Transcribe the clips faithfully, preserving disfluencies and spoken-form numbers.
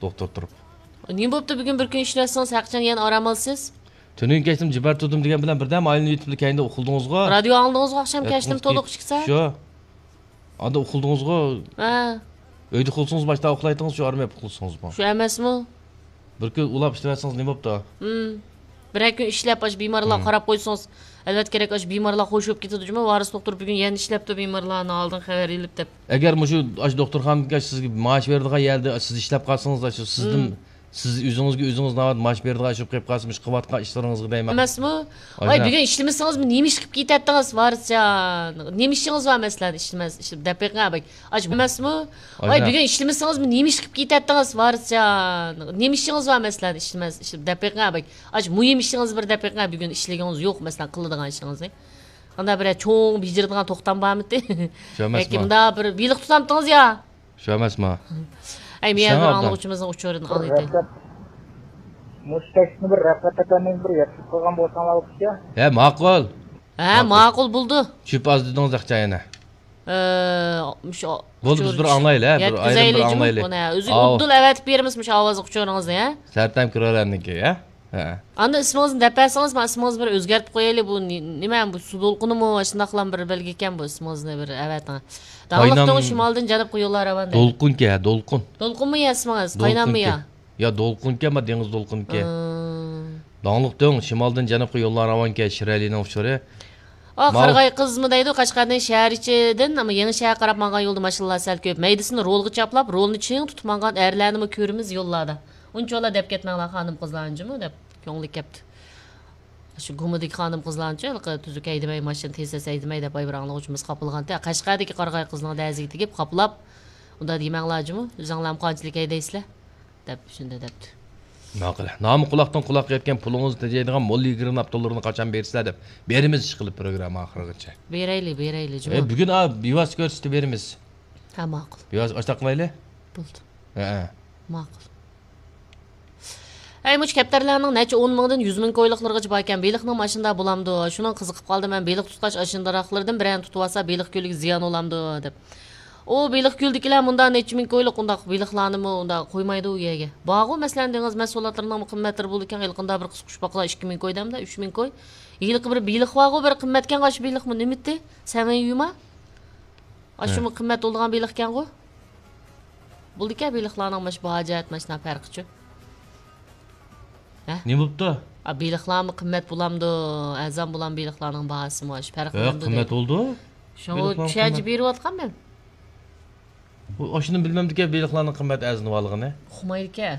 دوختۇر تۇرۇپ. نېمە بوپتۇ بۈگۈن بىر كۈن ئىشلەۋەتسىڭىز، ھەقىچان يەنە ئارام ئالىسىز؟ تۈنۈگۈن كەچتىن جىبەر تۇردۇم دېگەن بىلەن بىردەم ئايلىنىپ يېتىپلا كەينىدە ئۇخلىدىڭىزغۇ؟ رادىيو ئاڭلىدىڭىزغۇ ئاخشام كەچتىن تولۇق ئىككى سائەت؟ شۇ. ئاندا ئۇخلىدىڭىزغۇ؟ ھە. ئۆيدە ئۇخلىسىڭىز باشتا ئۇخلايتىڭىز، شۇ ئارمىيە ئۇخلىسىڭىزمۇ؟ شۇ ئەمەسمۇ؟ بىر كۈن ئۇلاپ ئىشلەۋەتسىڭىز نېمە بوپتۇ؟ ھىم. بىرەر كۈن ئىشلەپ، ئاشۇ بىمارلارغا قاراپ قويسىڭىز، ئەلۋەتتە كېرەك، ئاشۇ بىمارلار خوش بولۇپ كېتىدۇ جۇمۇ، ۋارىس دوختۇر بۈگۈن يەنە ئىشلەپتۇ بىمارلارنى ئالدىن خەۋەر ئېلىپ دەپ. ئەگەر مۇشۇ، ئاشۇ دوختۇرخانىدىكى سىزگە مائاش بېرىدىغان يەردە سىز ئىشلەپ قالسىڭىز، ئاشۇ سىزدىن، سىز ئۆزىڭىزگە ئۆزىڭىز ناۋادا مائاش بېرىدىغان ئىشىپ قېلىپ قالسا، مۇشۇ قىلىۋاتقان ئىشلىرىڭىزغا دەيمەن. ئەمەسمۇ؟ ۋاي، بۈگۈن ئىشلىمىسىڭىزمۇ، نېمە ئىش قىلىپ كېتەتتىڭىز، ۋارىسجان؟ نېمە ئىشىڭىز بار، مەسىلەن، ئىشلىمەس، ئىش دەپ بېقىڭ، ئەبەك. ئاش، ئەمەسمۇ؟ ۋاي، بۈگۈن ئىشلىمىسىڭىزمۇ، نېمە ئىش قىلىپ كېتەتتىڭىز، ۋارىسجان؟ نېمە ئىشىڭىز بار، مەسىلەن، ئىشلىمەس، ئىش دەپ بېقىڭ، ئەبەك. ئاش، مۇھىم ئىشىڭىز بار دەپ بېقىڭ، بۈگۈن ئىشلىگىڭىز يوق، مەسىلەن، قىلىدىغان ئىشىڭىزنى. قانداق بىر چوڭ بېجىرىدىغان توختام بارمىتى؟ شۇ ئەمەسمۇ؟ ياكى مۇنداق بىر بېلىق تۇتامتىڭىز يا؟ شۇ ئەمەسمۇ؟ ئەي، مېيەر بىر ئاڭلىغۇچىمىزنىڭ ئۇچۇرىنى ئاڭلىتايلى. مۇشۇ تەكلىپنى بىر رەپەت ئاكامنىڭ بىر يەتكۈزۈپ قويغان بولساڭلار بولىدىكەن. ھە، ماقۇل. ھە، ماقۇل بولدى. چۈپ ئاز دېدىڭىز ئاخچا يەنە. ئە، مۇشۇ بولدى، بىز بىر ئاڭلايلى، ھە، بىر ئايرىم بىر ئاڭلايلى. ئۆزى ئۇددىلا ئەۋەتىپ بېرىمىز مۇشۇ ئاۋازلىق ئۇچۇرىڭىزنى، ھە؟ سەرتەم كىرەرنىڭكى، ھە؟ ھە. ئاندىن ئىسمىڭىزنى دەپ بەرسىڭىز، مەن ئىسمىڭىزنى بىر ئۆزگەرتىپ قويايلى. بۇ نېمە، بۇ سۇ دولقۇنىمۇ، شۇنداقلا بىر بەلگە ئىكەن، بۇ ئىسمىڭىزنى بىر ئەۋەتىڭ. داڭلىق دۆڭ شىمالدىن جەنۇبقا يوللار راۋان دەيدۇ. دولقۇنكەن، دولقۇن. دولقۇنمۇ يا ئىسمىڭىز؟ قايناممۇ يا؟ يا دولقۇنكەن، ما دېڭىز دولقۇنكەن. داڭلىق دۆڭ شىمالدىن جەنۇبقا يوللار راۋانكەن، شىرئەلىنىڭ ئۇچۇرى. ئا، قارىغاي قىزمۇ دەيدۇ، قەشقەرنىڭ شەھەر ئىچىدىن، ئەمما يېڭى شەھەرگە قاراپ ماڭغان يولدا ماشىنىلار سەل كۆپ. مەيدىسىنى رولغا چاپلاپ، رولنى چىڭ تۇتۇپ ماڭغان ئەرلەرنىمۇ كۆرىمىز يوللاردا. ئۇنچىۋالا دەپ كەتمەڭلار، خانىم قىزلار، ئانچىمۇ دەپ كۆڭلى كەپتۇ. شۇ گۇمىدىكى خانىم قىزلارنىچۇ، ھېلىقى تۈزۈك ھەيدىمەي، ماشىنا تېز تېز ھەيدىمەي دەپ، ۋاي بىر ئاڭلىغۇچىمىز خاپىلىغانتى. قەشقەردىكى قارىغاي قىزنىڭ دەزىگە تېگىپ، خاپىلاپ، ئۇنداق دېمەڭلار جۇمۇ، ئۆزۈڭلارمۇ قانچىلىك ھەيدەيسىلەر دەپ، شۇنداق دەپتۇ. ماقۇل. نامى قۇلاقتىن قۇلاققا يەتكەن پۇلىڭىزنى تېجەيدىغان موللا يىگىرمە ئاپتوللىرىنى قاچان بېرىسىلەر دەپ، بېرىمىز ئىشقىلىپ پروگرامما ئاخىرىغىچە. بېرەيلى، بېرەيلى جۇمۇ. ئە، بۈگۈن، ئا، بىۋاسىتە كۆرسىتىپ بېرىمىز. ھە، ماقۇل. بىۋاسىتە ئاشتاق قىلايلى؟ بولدى. ھە، ھە. ماقۇل. ئەي، مۇشۇ كەپتەرلەرنىڭ نەچچە ئون مىڭدىن يۈز مىڭ كويلۇقلىرىغىچە باركەن، بېلىقنىڭ ماشىنىدا بولامدۇ؟ شۇنىڭ قىزىقىپ قالدىم مەن، بېلىق تۇتقاچ ئاشۇندىراقلىرىدىن بىرەرنى تۇتۇۋالسا، بېلىق كۆلىگە زىيان بولامدۇ دەپ. ئۇ بېلىق كۆلدىكىلەر مۇندا نەچچە مىڭ كويلۇق ئۇنداق بېلىقلارنىمۇ ئۇنداق قويمايدۇ ئۇ يەرگە. بارغۇ، مەسىلەن، دېڭىز مەھسۇلاتلىرىنىڭمۇ قىممەتلىرى بولىدىكەن، ھېلىقىنداق بىر قىسقۇچپاقلار ئىككى مىڭ كوي دەمدە، ئۈچ مىڭ كوي. ھېلىقى بىر بېلىق بارغۇ، بىر قىممەتكەن ئاشۇ بېلىقمۇ نېمىتى؟ سەمەي يۇما؟ ئاشۇمۇ قىممەت بولىدىغان بېلىقكەنغۇ؟ بولىدىكەن بېلىقلارنىڭ ماش باھا جەھەت ماشۇنداق پەرقىچۇ. ھە؟ نېمە بوپتۇ؟ ئا، بېلىقلارمۇ قىممەت بولامدۇ؟ ئەرزان بولام بېلىقلارنىڭ باھاسىمۇ ئاشۇ پەرقلىنىدۇ. قىممەت بولىدۇ. شۇڭا چۈشەنچە بېرىۋاتقان مەن. ئاشۇنى بىلمەمدىكەن بېلىقلارنىڭ قىممەت ئەرزىنىۋالغىنى. ئۇقمايدىكەن.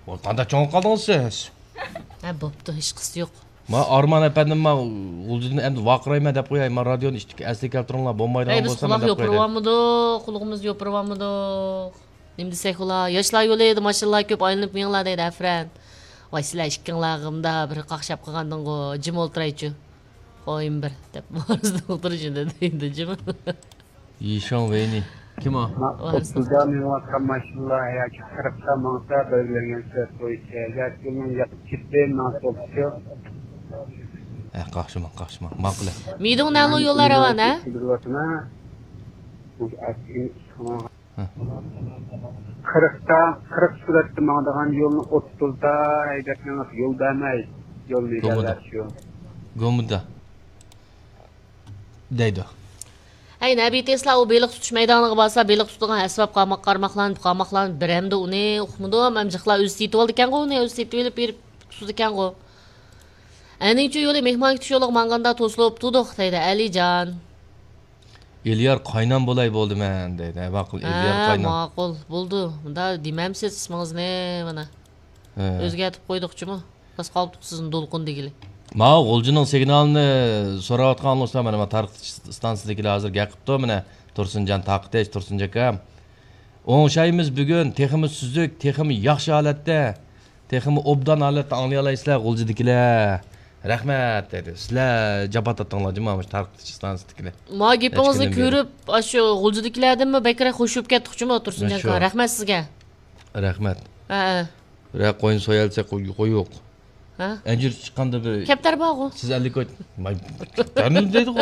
ۋاي، قانداق چوڭ قالدىڭىز سىز؟ ھە، بوپتۇ، ھېچقىسى يوق. ما ئارمان ئەپەندىم، ما غۇلجىدىن ئەمدى ۋارقىرايمەن دەپ قوياي، ما رادىيونى ئىشتىكى ئەسلىگە كەلتۈرۈڭلار، بولمايدىغان بولسا مەن دەپ قوياي. قۇلىقىمىزنى يوپۇرۇۋالمىدۇق. نېمە دېسەك ئۇلار، ياشلار يولىدا ماشىنىلار كۆپ ئايلىنىپ مېڭىڭلار دەيدۇ، ئەفرەن. ۋاي، سىلەر ئىككىڭلارغا مۇنداق بىر قاقشاپ قالغاندىڭغۇ، جىم ئولتۇرايچۇ. قويۇم بىر، دەپ، ۋارىس دوختۇر شۇنداق دەيدۇ، جىم. يىشاڭ ۋېينى. كىم ئۇ؟ ئوتتۇزدا مېڭىۋاتقان ماشىنىلار ياكى قىرىقتا ماڭسا، بەلگىلەنگەن سۈرئەت بويىچە ياكى يولنىڭ يېقىپ كېتىپ ماڭسا بولىدۇ. ھە، قاقشىماڭ، قاقشىماڭ. ماقۇل. مىدۇڭ نەلۇ يوللار راۋان، ھە؟ قىرىقتا، قىرىق سۈرئەتتە ماڭىدىغان يولنى ئوتتۇزدا ھەيدەپ مېڭىپ، يول بەرمەي، يولنى ئىگىلەش يول. گومىدا دەيدۇ. ھەي، نەبىي تېسلا ئۇ بېلىق تۇتۇش مەيدانىغا بارسا، بېلىق تۇتىدىغان ئەسۋاب قارماق-، قارماقلارنى، قارماقلارنى بېرەمدۇ ئۇنى؟ ئۇقمىدىم. ئەمجىقلار ئۆزى سېتىۋالىدىكەنغۇ ئۇنى، ئۆزى سېتىۋېلىپ بېرىپ تۇتىدىكەنغۇ. ئەنىڭچۇ يولى مېھمان كۈتۈش يولىغا ماڭغاندا توسۇلۇپ تۇردۇق، دەيدۇ ئەلىجان. ئېلىيار قاينام بولاي بولدى مەن، دەيدۇ. ھە، ماقۇل، ئېلىيار قاينام. ماقۇل، بولدى. مۇندا دېمەمسىز ئىسمىڭىزنى، مانا. ھە. ئۆزگەرتىپ قويدۇقچۇمۇ؟ بەس قالدۇق سىزنى دولقۇن دېگىلى. ماۋۇ غۇلجىنىڭ سىگنالىنى سوراۋاتقان دوستلار، مانا، مانا تارقىتىش ئىستانسىسىدىكىلەر ھازىر گەپ قىپتۇ، مانا، تۇرسۇنجان تارقىتىش، تۇرسۇنجان ئاكام. ئوڭشايمىز بۈگۈن، تېخىمۇ سۈزۈك، تېخىمۇ ياخشى ھالەتتە، تېخىمۇ ئوبدان ھالەتتە ئاڭلىيالايسىلەر غۇلجىدىكىلەر. رەھمەت، دەيدۇ. سىلەر جاپا تارتتىڭلار جۇمۇ، مۇشۇ تارقىتىش ئىستانسىسىدىكىلەر. ما گېپىڭىزنى كۆرۈپ، ئاشۇ غۇلجىدىكىلەردىنمۇ بەكرەك خوش بولۇپ كەتتۇقچۇمۇ، تۇرسۇنجان ئاكا. رەھمەت سىزگە. رەھمەت. ھە، ھە. بىرەر قوينى سويالىسا قوي-، قويۇق. ھە؟ ئەنجۈر چىققاندا بىر كەپتەر بارغۇ. سىز ئەللىك كوي-، ماي، كەپتەرنى دەيدىغۇ.